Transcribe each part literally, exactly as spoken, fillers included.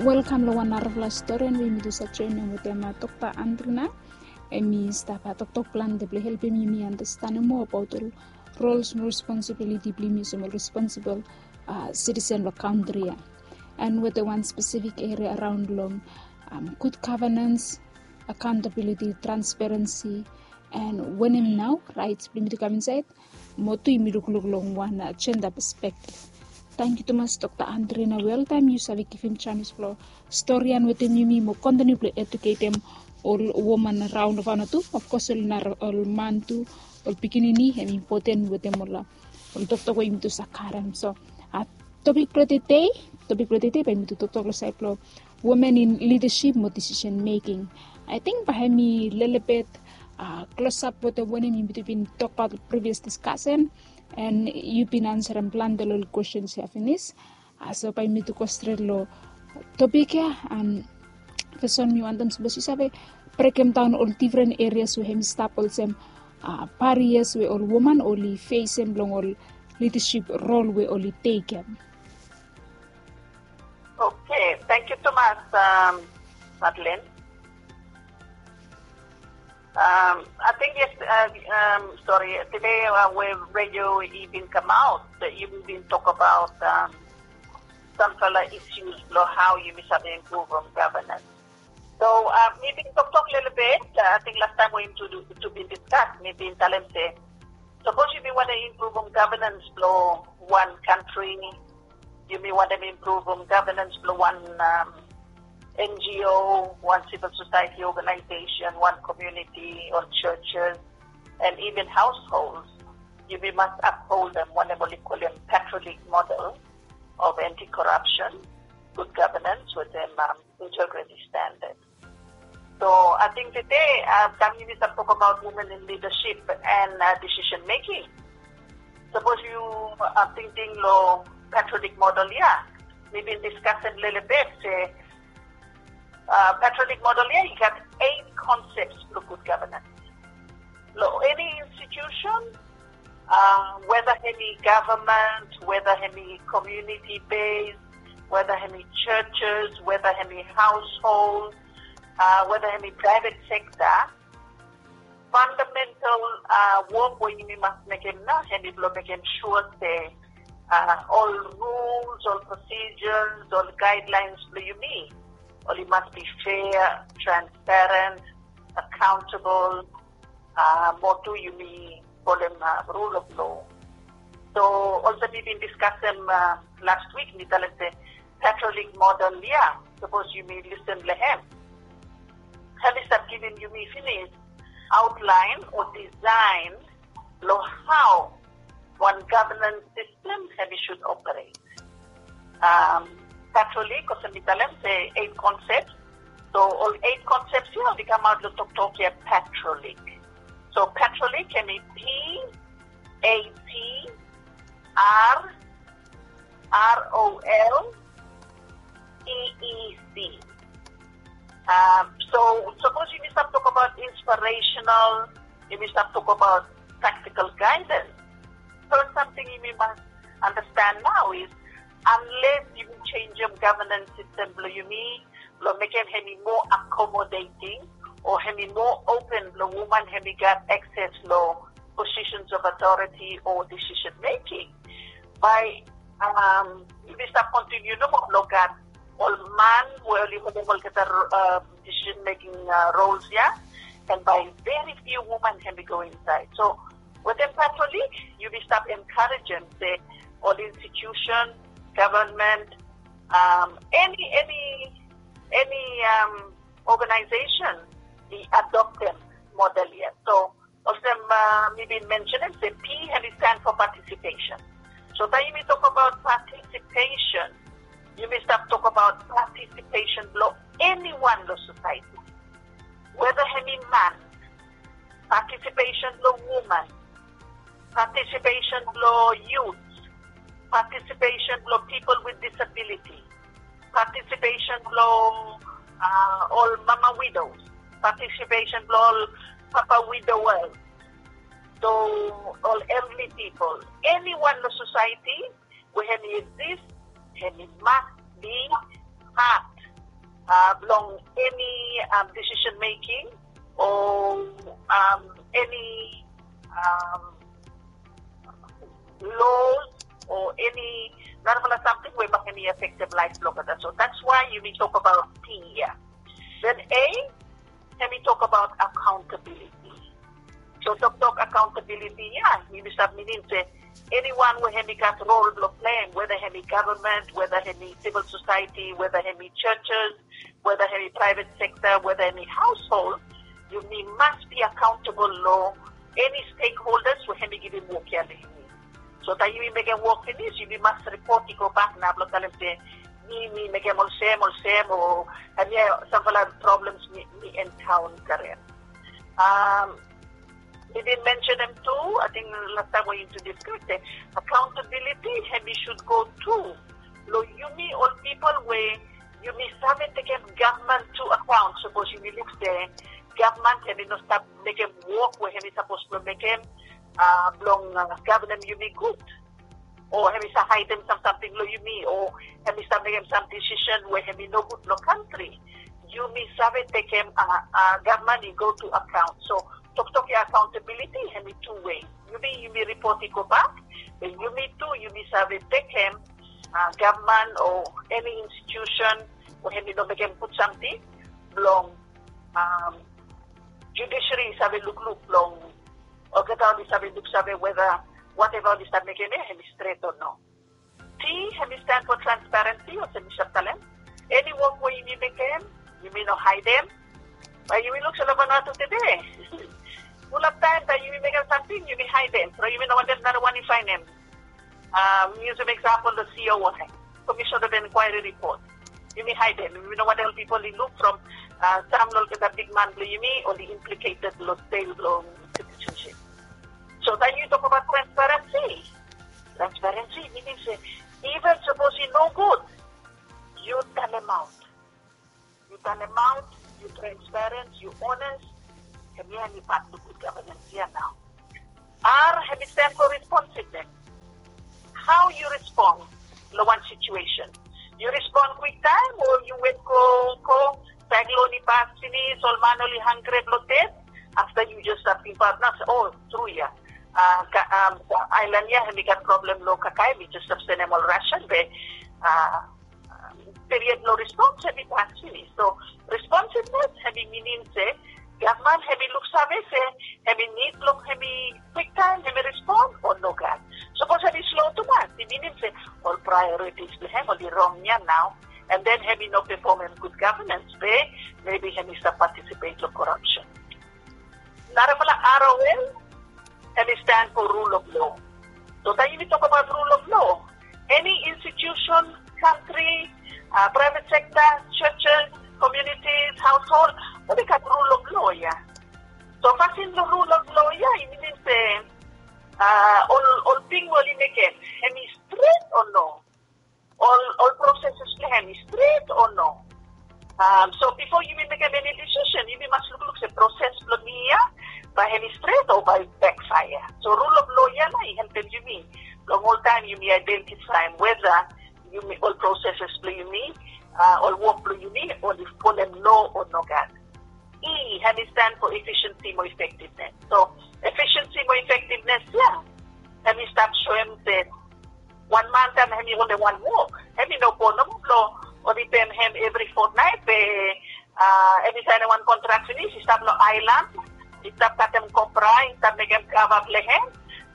Welkam long wan narafala storian we yumi tu save joinim wetem Dokta Andrina. Em i stap toktok plante blong helpim yumi andastanem moa abaot ol rols mo responsibiliti blong yumi olsem ol responsibol sitisen long kantri ya. And wetem wan spesifik eria araon long gud gavanens, akaontabiliti, transparensi, and wanem nao raets blong yumi tu kam insaed, mo tu yumi lukluk long wan jenda pespektif. Tangkiu tumas Dokta Andrina we oltaem yu save givim janis blong storian wetem yumi mo kontiniu blong eduketem ol woman raon of ana tu, of kos ol man tu, ol pikinini, hem impoten wetem ol toktok we yumi tu save karem. So topik blong tede, topik blong tede bae yumi tu toktok long saed blong women in leadership mo decision making. Ating bae hem i lelebet klosap wetem wanem yumi tu bin tokbaot previous diskasen, and yu bin ansarem plante long ol kwestens ya finis. So bae yumi tu go stret long topik ya. And fes wan mi wantem sapos yu save brekemdaon ol difren erias we hem i stap olsem barias we ol woman oli fesem long ol lidasip rol we oli tekem. Okay, tangkiu tumas, Madeline. Um, I think yes, uh, um, sorry, today uh, we radio even come out that you been talk about um, some further issues lo how you might have improve on governance. So uh, maybe talk talk a little bit. Uh, I think last time we to to be discussed, maybe in Talente. Suppose you want to improve on governance lo one country, you may want to improve on governance lo one um, N G O, one civil society organization, one community, or churches, and even households, you we must uphold them, whatever we call them, Catholic model of anti-corruption, good governance with them um, integrity standards. So I think today uh, kami ni sa talk about women in leadership and uh, decision making. Suppose you are thinking lo Catholic model, yeah, maybe discuss a little bit, say, uh, Patriotic model ya, you got eight concepts lo good governance. Lo any institution, uh, whether any government, whether any community based, whether any churches, whether any household, uh, whether any private sector, fundamental uh, work we yumi mas mekem nao, hemi blo mekem sure se uh, all rules, all procedures, all guidelines blo yumi, oli mas be fair, transparent, accountable, uh, mo tu yumi folem uh, rule of law. So also mi bin discuss them uh, last week, mi talem se Catholic model ya, suppose yumi listen lo hem. Hemi stap givim yumi finis outline o design lo how one governance system hemi should operate. Um, Catholic, olsem mi talem se eight concepts. So all eight concepts ya oli kamaot lo toktok ya Catholic. So Catholic hemi P A T R R O L E E C. Um, so suppose yumi stap talk about inspirational, yumi stap talk about practical guidance. So something yumi mas understand nao is unless yumi changem governance system blo yumi, blo mekem hemi more accommodating o hemi more open blo woman hemi gat access lo positions of authority o decision making. Bae um, yumi stap continue nomo blo gat ol man we oli holem olgeta uh, decision making uh, roles ya, and bae very few woman hemi go inside. So wetem Catholic, yumi stap encouragem se ol institution, government, um, any any any um, organization i adoptem model ya. So olsem uh, mi bin mentionem se P hemi stand for participation. So taem yumi talk about participation, yumi stap talk about participation blo anyone lo society. Whether hemi man, participation blo woman, participation blo youth, participation blo people with disability, participation blo uh, ol mama widows, participation blo ol papa widowers, so ol elderly people, anyone lo society we hemi exist, hemi mas be part uh, bilong eni um, decision making o um, eni um, laws o eni narafala samting we bai hemi affected laif bilong olgeta. So that's why yumi tok about P ia. Then A, hemi tok about accountability. So toktok accountability ia, yumi save minim se anyone we hemi gat rol bilong playim, whether hemi government, whether hemi civil society, whether hemi churches, whether hemi private sector, whether hemi household, yumi must be accountable long eni stakeholders we hemi givim wok ia long yumi. So taim yumi mekem wok finis, yumi mas ripot i go bak na bilong talem se mi mi mekem olsem olsem o hemia sampela problems mi mi encounter. Um, mi bin mentionem tu, ating last time we introduce krik se accountability hemi should go tu long yumi ol people we yumi save tekem gavman tu account. Sapos yumi luk se gavman hemi no stap mekem wok we hemi sapos bilong mekem uh, bilong uh, governem yumi gut. O hemi sa haidem sam samting long yumi o hemi sa mekem sam decision we hemi nogut long kantri. Yumi save tekem uh, uh, gavman i go tu account. So toktok ia accountability hemi tu wei. Yumi yumi ripot i go bak. Be yumi tu yumi save tekem uh, gavman o eni institution we hemi no mekem gut samting bilong um, judiciary i save lukluk long olgeta oli save luksave whether whatever oli stap mekem ia hemi stret o no. T hemi stand for transparency olsem mi save talem. Eni wok we yumi mekem yumi no haidem. Bai yumi luk se long Vanuatu tude fulap taim taim yumi mekem samting yumi haidem. So yumi no wantem nara wan i fainem. Um, using example the C O I, Commission of Inquiry Report. Yumi haidem, yumi no wantem people i luk from uh, sam long olgeta bigman bilong yumi oli implicated long sel bilong citizenship. So taim yu tok about transparency, transparency minim se even sapos i no gut, yu talem aut. Yu talem aut, yu transparent, yu honest, hemia hemi pat bilong good governance ia nau. R hemi stand for responsiveness. How yu respond long wan situation? Yu respond kwiktaim o yu wet go go, cyclone i pas pinis, ol man oli hangre long det. Afta yu just stap tingbaut nau se o, tru ia, ailan ia hemi gat problem long kakae, mi just stap senem ol ration be period long respons hemi pas pinis. So responsiveness hemi minim se gavman hemi luksave se hemi nid long hemi kwiktaim hemi respon o nogat. Sapos hemi slo tumas i minim se ol priorities bilong hem oli rong ia nau, and then hemi no performem good governance be maybe hemi stap participate long corruption. Narafala R O L hemi stand for rule of law. So taim yumi tok abaut rule of law, eni institution, kantri, uh, private sector, churches, communities, household, oli gat rule of law ia. So pasin long rule of law ia i minim se uh, ol ol ting we oli mekem hemi stret o no? Ol ol processes bilong hem i stret o no? Um, so before yumi mekem eni decision yumi mas lukluk se proses bilong mi ia bai hem i stret o bai backfire. So rule of law ia na i helpem yumi long oltaim yumi identifaim whether yumi ol processes bilong yumi, uh, ol wok bilong yumi oli folem lo o nogat. E hem i stand for efficiency mo effectiveness. So efficiency mo effectiveness ia hem i stap soem se wan man taim hem i holim wan wok hem i no go nomo bilong oli pem hem evri fortnight be uh, hem i sainim wan kontrak finis i stap long ailan, i stap katem kopra, i stap mekem kava bilong hem,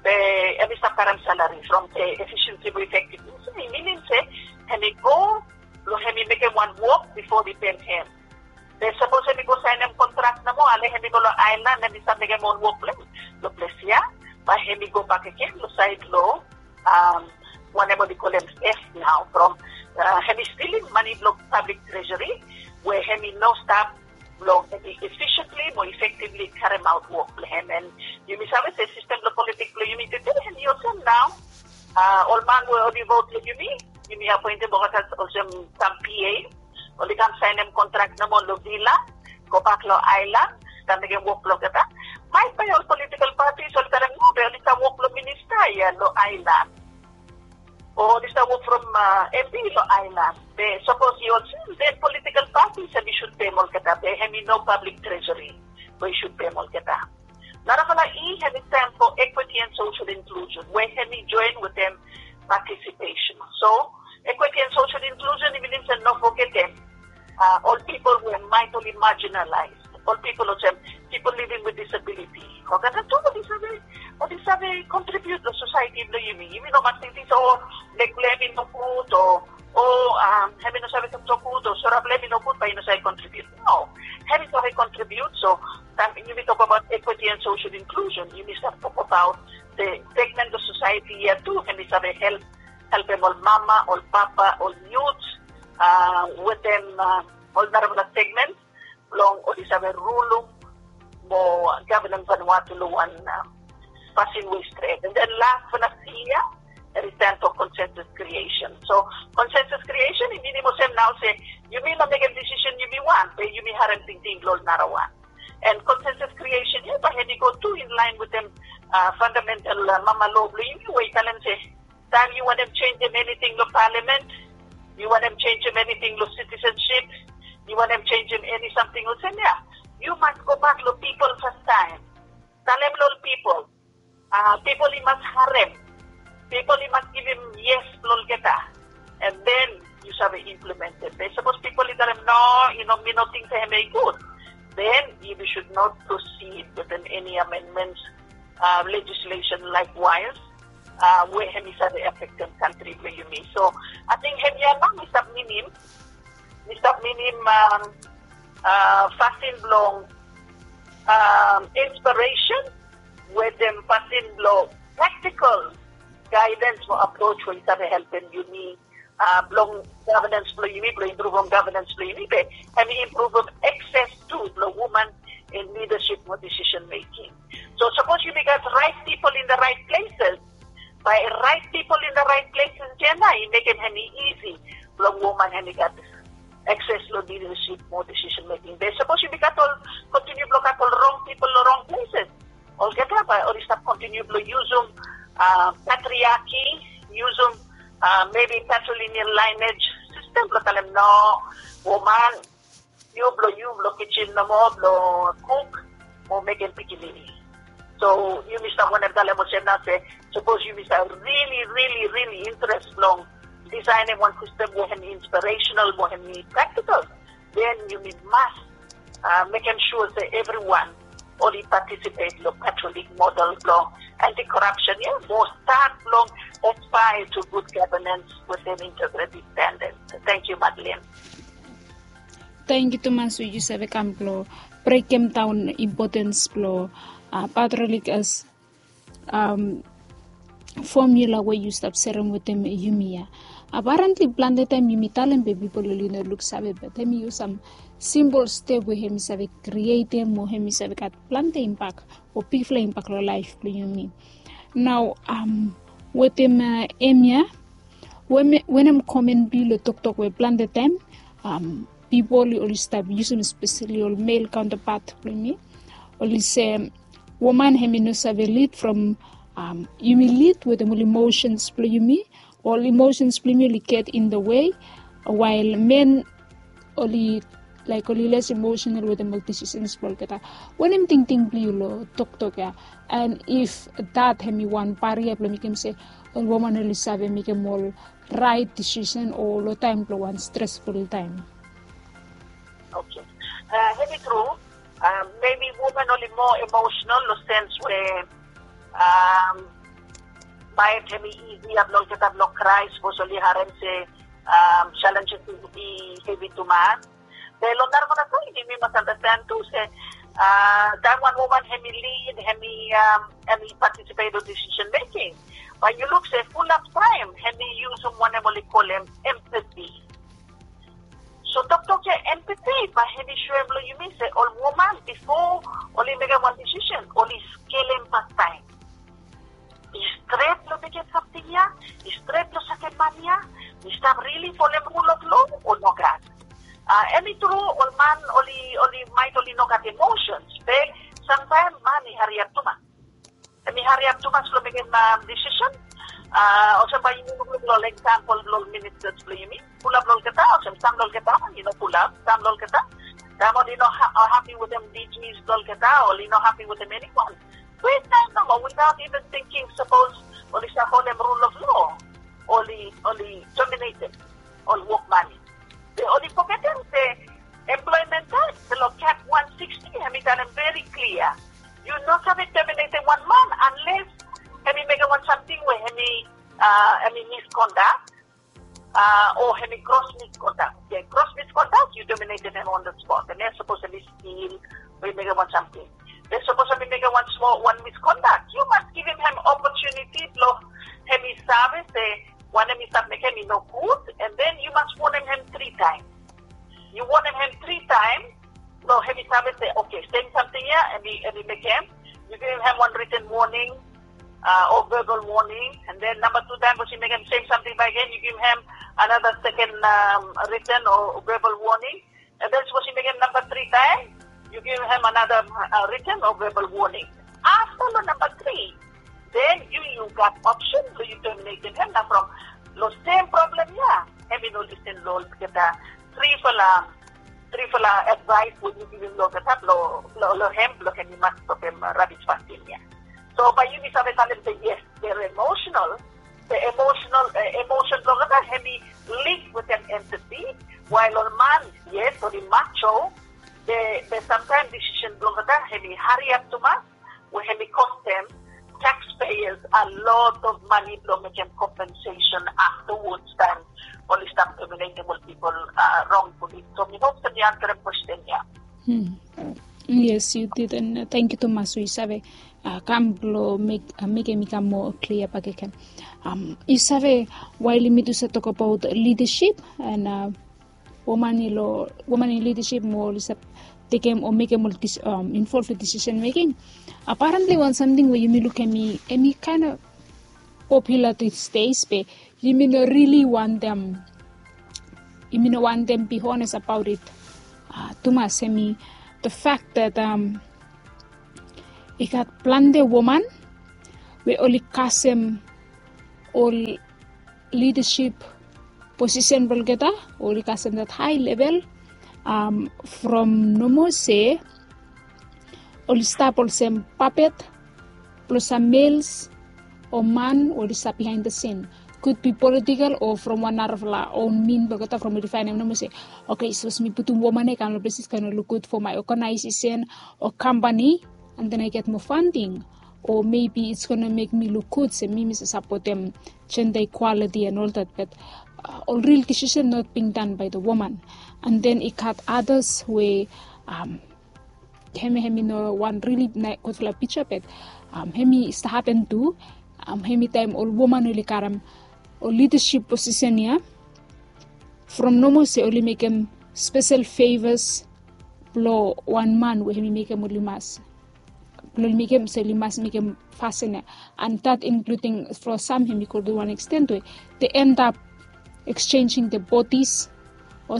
be hem i stap karim salari from the efficiency mo effectiveness. I minim se hem i go long hem i mekem wan wok before di pem hem. Be sapos em i go sainim kontrak nomo ale em i go long ailan em i save mekem ol wok bilong em long ples ya, bai em i go bak gen long sait long wanem ol i kolem theft nau from em i stilim mani bilong public treasury we em i no stap long em i efficiently mo effectively karemaut wok bilong em. And yumi save se sistem bilong politik bilong yumi tude em i olsem nau, ol man we ol i vot long yumi, yumi apointem olgeta olsem sam P A, ol i kam sainim kontrak nomo long vila, gobak long ailan, kam mekem wok bilong olgeta. Maet bai ol politikal patis ol i talem no be ol i stap wok long minista ya long ailan, o ol i stap wok from M P long ailan. Be sapos i olsem den politikal Patis hemi sud pem olgeta be hemi no pablik treasury we i sud pem olgeta. Narafala i hemi stan fo equity and social inclusion we hemi join wetem participation. So equity and social inclusion i minim se no fogetem ol pipol we maet oli marginalized, ol pipol olsem pipol living with disability. Olgeta tu oli save, oli save contribute long society blong yumi. Yumi no mas tingting se o leg blong hem i no gud o o hem i no save toktok gud o sora blong hem i no gud bae i no save contribute. No, hem i save contribute. So taem yumi tok abaot equity and social inclusion, yumi save tok abaot the segment of society ya tu hem i save help, helpem ol mama, ol papa, ol youth wetem ol narafala segment blong oli save rulum mo gavnem Vanuatu long wan pasin we i stret. And then last but not least, ya, hemi stan fo consensus creation. So consensus creation i minim olsem nao se yumi no mekem decision yumi wan, be yumi harem tingting blong ol narawan. And consensus creation ya bae hemi go tu in line wetem fundamental mama law blong yumi we i talem se taem yu wantem jenisim eniting long palamen, yu wantem jenisim eniting long citizenship, yu wantem jenisim eni samting olsem ya, yu mas gobak long pipol fastaem. Talem long ol pipol, pipol i mas harem, pipol i mas givim yes long olgeta, and then yu save implementem. Be sapos pipol i talem no, yu no, mi no ting se hemi gud, then yumi should not proceed wetem eni amendments, legislation likewise, we hemi save afektem kantri blong yumi. So ating hemia nao mi stap minim, mi stap minim fasin blong inspiresen wetem fasin blong practical guidance mo approach we i save helpem yumi blong governance blong yumi, blong impruvem governance blong yumi, be hemi impruvem access tu blong woman in leadership mo decision making. So sapos yumi gat right people in the right places, bae right people in the right places ya nao i mekem hemi isi blong woman hemi gat access long leadership mo decision making. Be sapos yumi gat ol, continue blong gat ol wrong people long wrong places, olgeta bae oli stap continue blong yusum patriarchy, yusum maybe patrilineal lineage system blong talem no, woman, yu blong, yu blong kijin nomo blong kuk mo mekem pikinini. So yumi stap wantem talem olsem nao se sapos yumi stap really, really, really interes blong designem wan system we hemi inspirational, we hemi practical, then yumi mas mekem sua se evriwan oli participate long Catholic model blong anti-corruption ya, mo stat blong aspire to good governance wetem integrity standards. Thank you, Madeline. Tangkiu tumas we yu save kam blong brekem daon impotens blong patriotik as formula we yu stap serem wetem yumi ya. Apparently plante taem yumi talem be pipol oli no luksave, be hemi yu sam simpol step we hemi save krietem o hemi save gat plante impak o bigfala impak long laef blong yumi. Nao wetem hemia, wanem komen blong yu long toktok we plante taem pipol oli stap yusum, espeseli ol male counterpart blong yumi, oli se woman hemi no save lid from yumi lid wetem ol emotions blong yumi, ol emotions blong yumi oli get in the way, while men oli laek oli les emotional wetem ol decisions blong olgeta. Wanem tingting blong yu long toktok ya? And if that hemi wan baria blong mekem se ol woman oli save mekem ol right decision o long taem blong wan stressful taem? Okay. Hemi tru, maybe woman oli moa emotional long sens we maet hemi isi ya blong olgeta blong krae sapos oli harem se challenges i hevi tumas. Be long narafala saed yumi mas andasten tu se taem wan woman hemi lid, hemi hemi participate long decision making, bae yu luk se fulap taem hemi yusum wanem oli kolem empathy. So toktok ya empathy bae hemi soem long yumi se ol woman bifo oli mekem wan decision oli skelem fastaem. I stret long mekem samting ya? I stret long sakem man ya? Mi stap rili folem rul of law o nogat? Hemi tru ol man oli, oli maet oli no gat emotions, be samtaem man i hariap tumas. Hemi hariap tumas long mekem decision. Olsem bae yumi lukluk long ol example blong ol ministers blong yumi, fulap long olgeta olsem Sam long olgeta i no pulap, sam long olgeta taem oli no hapi wetem dijis blong olgeta, oli no hapi wetem eniwan. Kwiktaem nomo, without even thinking, sapos oli stap folem rul of lo, oli oli tominatem ol wokman ya. Be oli fogetem se employment act blong Cap wan siksti hemi talem veri klia, yu no save tominatem wan man anles hemi mekem wan samting we hemi hemi misconduct, o hemi gros misconduct. Oke, gros misconduct yu tominatem hem on the spot. Hemia sapos hemi stil o i mekem wan samting. Be sapos hemi mekem wan smol wan misconduct, yu mas givim hem opotuniti blong hemi save se wanem i stap mekem i no gud, and then yu mas wonem hem tri taem. Yu wonem hem tri taem blong hemi save se, oke, sem samting ya hemi mekem, yu givim hem wan written warning o verbal warning, and then namba tu taem sapos i mekem sem samting bakegen, yu givim hem another second written o verbal warning, and then sapos i mekem namba tri taem, yu givim hem another written o verbal warning. Afta long namba tri, then yu yu gat option blong yu tominatem hem. Na from long sem problem ya, hem i no lisen long olgeta trifala trifala advaes we yu givim long olgeta, long hem blong hem i mas stopem rabis fasin ya. So bae yumi save talem se yes, they're emotional. The emotional emotion blong olgeta hemi link wetem empathy. Wael ol man, yes, oli macho, be samtaem disisen blong olgeta hemi hariap tumas, we hemi kostem taxpayers a lot of mane blong mekem kompensesen aftawods taem oli stap tominatem ol pipol rongfuli. So mi hop se mi ansarem kwesten ya. Yes, yu did, and tangkiu tumas we yu save kam blong mekem i kam moa klia bakegen. Yu save, wael yumi tu save tokbaot lidasip, and woman i long woman in lidasip mo oli save tekem o mekem ol involv long disisen meking. Aparentli wan samting we yumi lukim, hemi kaen of popular these days, be yumi no rili wantem, yumi no wantem be honest abaot it tumas. Hemi the fact that i gat plante woman we oli kasem ol lidasip posisen blong olgeta, oli kasem that hae level from nomo se oli stap olsem papet blong sam males o man oli stap bihaen the sin. Could be political o from wan narafala own min blong olgeta from oli faenem nomo se, oke, sapos mi putum woman ya i kam long ples i save no luk gud for my organization o kampani, and then I get more funding, o maybe it's gonna make me look good se mi mi save sapotem gender equality and all that. But ol ril disisen not being done by the woman. And then i gat others we hemi hemi no wan rili gudfala pija, but hemi stap hapen tu. Hemi taem ol woman oli karem ol lidasip posisen ya, from nomo se oli mekem spesel fevas blong wan man we hemi mekem oli mas blong oli mekem se oli mas mekem fasin ya. And that including from sam hemi go tu wan extent we they end up exchanging the bodies o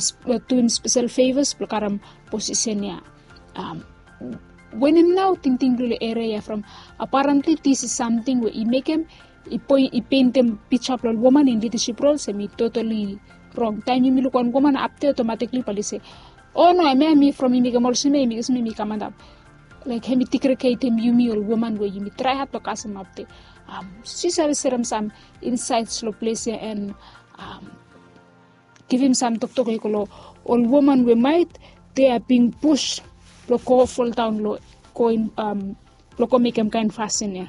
doing spesel fevas blong karem posisen ya. Wanem nao tingting blong ol eria ya from, aparentli this is samting we i mekem i poen i pentem pija blong ol woman in lidasip rol se mi totali rong. Taem yumi luk wan woman apde otomatikli bae oli se, o no, hemia hemi from i mekem olsem ya, i mekem olsem ya, mi kam antap. Laek hemi digregetem yumi ol woman we yumi trae had blong kasem apde. Sapos yu save serem sam insaets long ples ya and givim sam toktok i go long ol woman we maet they are being pushed blong go foldaon long go in blong go mekem kaen fasin ya.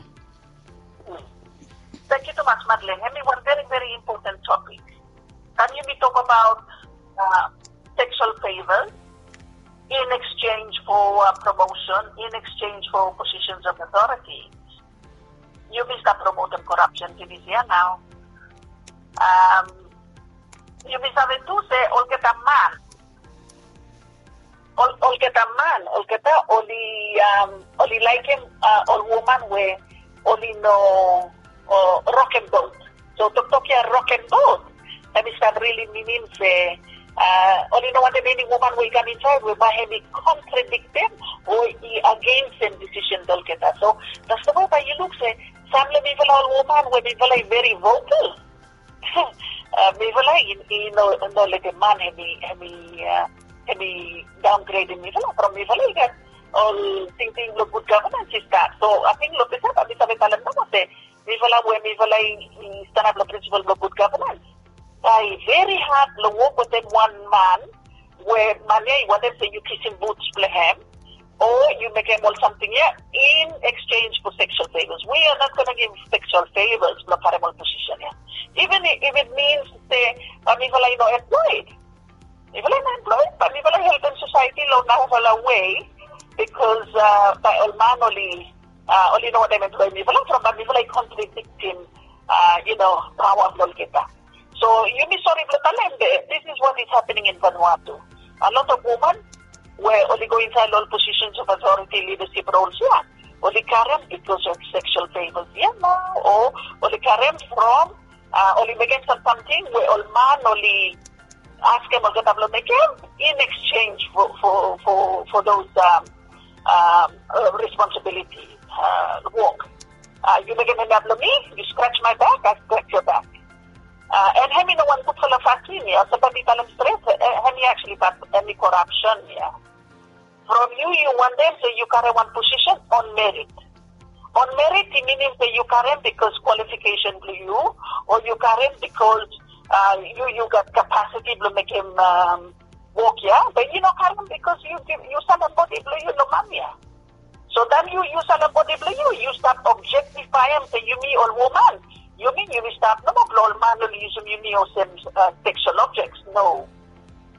Tangkiu tumas Madeleine. Hemi wan veri veri impoten topik. Taem yumi tokbaot sexual favors in exchange for promotion, in exchange for positions of authority, yumi stap promotem korapsen pinis ya nao. Yumi save tu se olgeta man, olgeta man, olgeta oli oli laekem ol woman we oli no rokem bot. So toktok ya rokem bot, hemi stap rili minim se oli no wantem eni woman we i kam insaed we bae hemi kontradiktem o i agensem disisen blong olgeta. So tasol bae yu luk se sam long mifala ol woman we mifala i veri vokal, Mifala i no letem man hemi hemi daongredim mifala from mifala i gat ol tingting blong gud gavnans i stat. So ating long ples ya bae mi save talem nomo se mifala we mifala i stanap long prinsipol blong gud gavnans, bae i veri had blong wok wetem wan man we man ya i wantem se yu kisim buts blong hem o yu mekem ol samting ya in exchange for sexual favors. We are not gonna give sexual favors blong karem ol posisen ya. Even if it means se mifala i no employed, mifala i no employed bae mifala i helpem society long narafala way, because bae ol man oli oli no wantem employ mifala from bae mifala i kontradiktim you know, paoa blong olgeta. So yumi sori blong talem be this is what is happening in Vanuatu. A lot of woman we oli go inside ol positions of authority leadership roles ya, oli karem because of sexual favors ya nao o oli karem from oli mekem sam samting we ol man oli askem olgeta blong mekem in exchange for for for for those um, um, uh, responsibility uh, work. Uh, you mekem hemia blong mi, you scratch my back, I scratch your back. Uh, and hemi no wan gudfala fasin ya, so bae mi talem stret, hemi actually bae hemi corruption ya. From yu yu wantem se yu karem wan posisen on merit. On merit i minim se yu karem bikos kwalifikesen blong yu o yu karem bikos yu yu gat kapasiti blong mekem wok ya, be yu no karem bikos yu yu salim bodi blong yu long man ya. So taem yu yu salim bodi blong yu, yu stap objektifaem se yumi ol woman, yumi yumi stap nomo blong ol man oli yusum yumi olsem seksual objeks. No.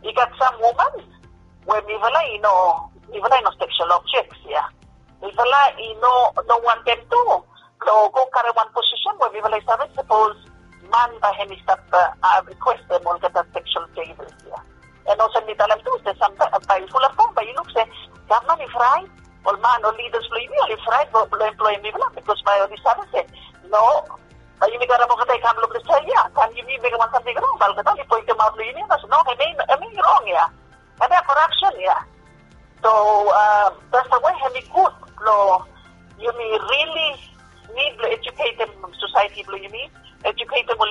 I gat sam woman we mifala i no mifala i no seksual objeks ya. Mifala i no no wantem tu blong go karem wan posisen we mifala i save sapos man bae hemi stap rikwestem olgeta seksual favors ya. And olsem mi talem tu se sam bae fulap taem bae yu luk se gavman i fraet, ol man ol lidas blong yumi oli fraet blong emploem mifala bikos bae oli save se no, bae yumi karem olgeta i kam long ples ya, taem yumi mekem wan samting rong bae olgeta oli poentemaot long yumi se no, hemi hemi rong ya. Hemia corruption ya. So that's the way hemi gud blong yumi rili nid blong eduketem sosaeti blong yumi, eduketem ol